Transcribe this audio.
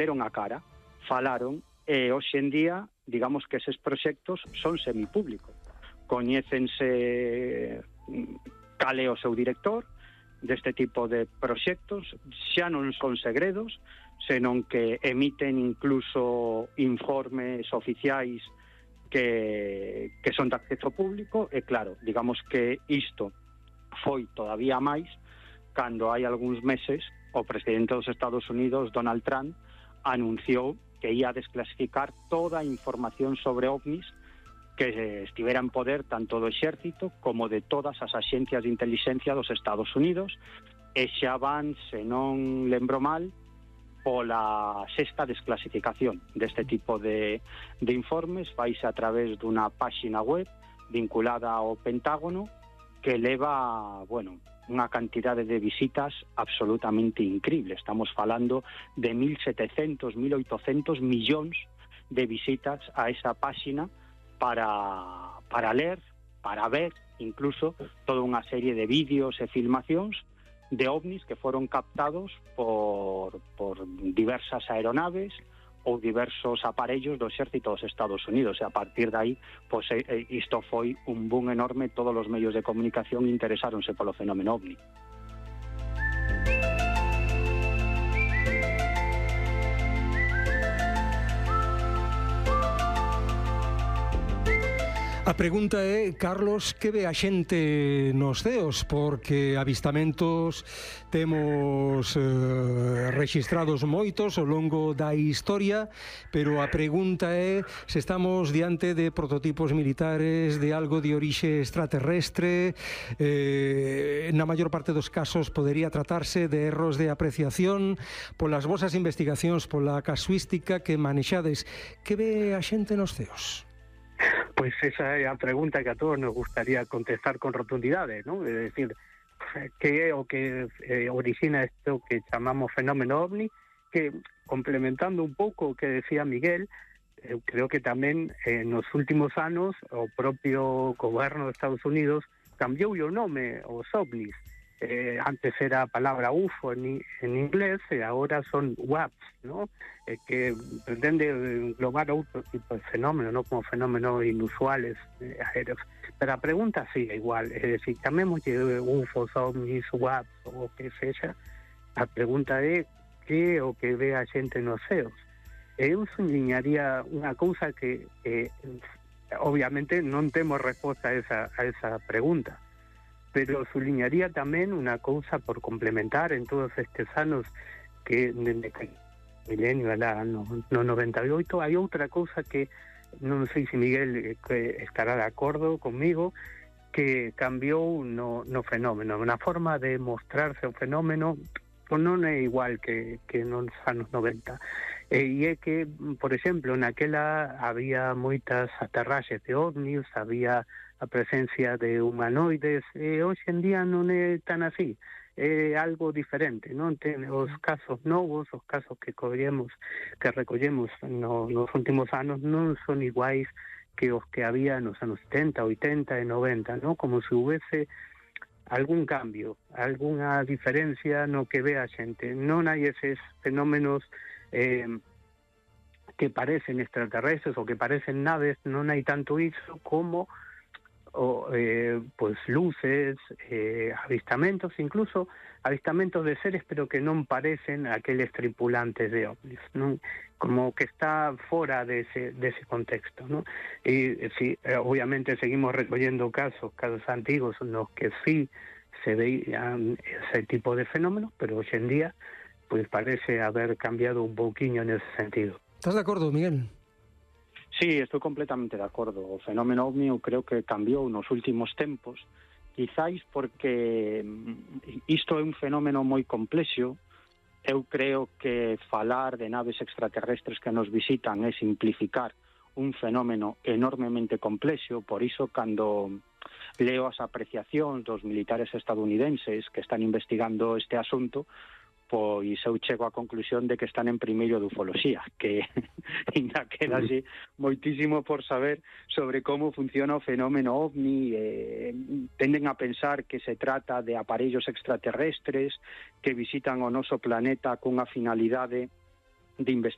deron a cara, falaron, e hoxe en día, digamos que eses proxectos son semipúblicos. Coñécense cal é o seu director deste tipo de proxectos, xa non son segredos, senón que emiten incluso informes oficiais que son de acceso público, e claro, digamos que isto foi todavía máis cando hai algúns meses o presidente dos Estados Unidos, Donald Trump, anunciou que ia a desclasificar toda a información sobre ovnis que estivera en poder tanto do exército como de todas as axencias de inteligencia dos Estados Unidos, e xa van, se non lembro mal, pola sexta desclasificación deste tipo de informes. Faise a través dunha páxina web vinculada ao Pentágono que leva, bueno, unha cantidade de visitas absolutamente increíble. Estamos falando de 1.700, 1.800 millóns de visitas a esa páxina para ler, para ver incluso toda unha serie de vídeos e filmacións de ovnis que foron captados por diversas aeronaves ou diversos aparellos do exército dos Estados Unidos, e a partir de aí, pois, isto foi un boom enorme. Todos os medios de comunicación interesáronse polo fenómeno ovni. A pregunta é, Carlos, que ve a xente nos ceos? Porque avistamentos temos rexistrados moitos ao longo da historia, pero a pregunta é se estamos diante de prototipos militares, de algo de orixe extraterrestre. Na maior parte dos casos podería tratarse de erros de apreciación. Polas vosas investigacións, pola casuística que manexades, que ve a xente nos ceos? Pues esa é a pregunta que a todos nos gustaría contestar con rotundidade, ¿no? É dicir, que é o que origina isto que chamamos fenómeno ovni, que, complementando un pouco o que decía Miguel, eu creo que tamén nos últimos anos o propio goberno de Estados Unidos cambiou o nome aos ovnis. Antes era a palabra UFO en inglés e agora son WAPs, ¿no? Que pretende englobar outro tipo de fenómenos, ¿no? Como fenómenos inusuales aéreos. Pero a pregunta sigue igual, é dicir, chamémoslle UFOs, ovnis, WAPs ou o que sexa, a pregunta é que o que ve a xente nos ceos. Eu subliñaría unha cousa que obviamente non temos resposta a esa pregunta, pero subliñaría tamén unha cousa por complementar en todos estes anos que dende que milenio no 98 hai outra cousa que non sei se Miguel estará de acordo comigo, que cambiou no fenómeno, na forma de mostrarse o fenómeno, pois non é igual que nos anos 90. E é que, por exemplo, naquela había moitas aterraxes de ovnis, había a presencia de humanoides, e hoxe en día non é tan así, é algo diferente, non? Os casos novos, os casos que recollemos nos últimos anos non son iguais que os que había nos anos 70, 80 e 90, non? Como se houvese algún cambio, algunha diferencia no que ve a xente. Non hai eses fenómenos que parecen extraterrestres ou que parecen naves, non hai tanto iso como pues luces, avistamentos, incluso avistamentos de seres pero que non parecen aqueles tripulantes de ovnis, non? Como que está fora dese contexto, non? E sí, obviamente seguimos recollendo casos antigos nos que sí se veían ese tipo de fenómenos, pero hoxe en día pues parece haber cambiado un pouquiño nese sentido. ¿Estás de acordo, Miguel? Sí, estou completamente de acordo. O fenómeno ovni eu creo que cambiou nos últimos tempos, quizáis porque isto é un fenómeno moi complexo. Eu creo que falar de naves extraterrestres que nos visitan é simplificar un fenómeno enormemente complexo. Por iso, cando leo as apreciacións dos militares estadounidenses que están investigando este asunto, pois eu chego á conclusión de que están en primeiro de ufoloxía, que ainda quedase moitísimo por saber sobre como funciona o fenómeno ovni. Tenden a pensar que se trata de aparellos extraterrestres que visitan o noso planeta cunha finalidade de investigación